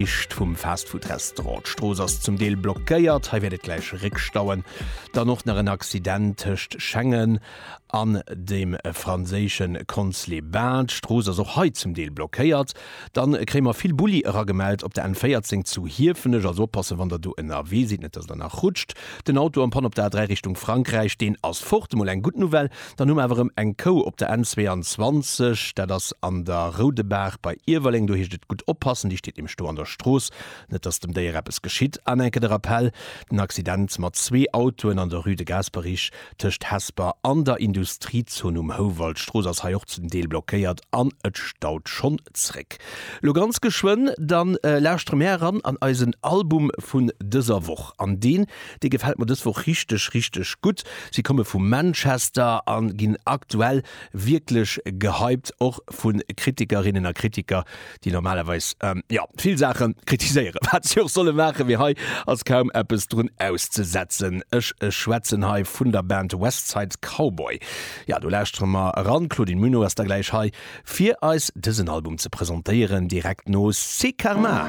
Riicht vum Fastfood-Restaurant. D'Strooss ass zum Deel blockéiert, hei wäert et gläich réckstauen. Dann och nach en Accident tëscht Schengen an dem franséische Cons-les-Bains. D'Strooss ass och hei zum Deel blockéiert. Dann kréie mer vill Bulli eragemellt op der N14 zu Hiefenech. Also oppassen, wann der do ënnerwee sidd, net dass der nach rutscht. Den Auto am Panne op der A3 Richtung Frankräich, deen ass fort. Emol eng gutt Nouvelle. Dann hu mer awer erëm eng Kou op der N22, dat ass an der Roudebaach bei Iewerleng. Do heescht et gutt oppassen, déi steet nämlech do an der Strooss, net dass dem Déier eppes geschitt. An enke de Rappell, den Accident mat zwee Autoen an der Rue de Gasperich tëscht Hesper an der Industriezon um Houwald. D'Strooss ass hei och zum Deel blockéiert an et staut schonn zréck. Lo ganz geschwënn dann lauschtere mär eran an eisen Album vun dëser Woch an deen Dee gefält mer dës Woch richteg, richteg gutt. Si komme vu Manchester a ginn aktuell wierklech gehypt, och vu Kritikerinnen a Kritiker, déi normalerweis, jo, vill Saache kritiséieren, wat si och solle maachen, mee hei ass kaum eppes drun auszesetzen. Ech schwätzen hei vun der Band Westside Cowboy. Jo, do lauschtere mer eran. D'Claudine Muno ass da gläich hei, fir eis dësen Album ze presentéieren, direkt no C'est Karma.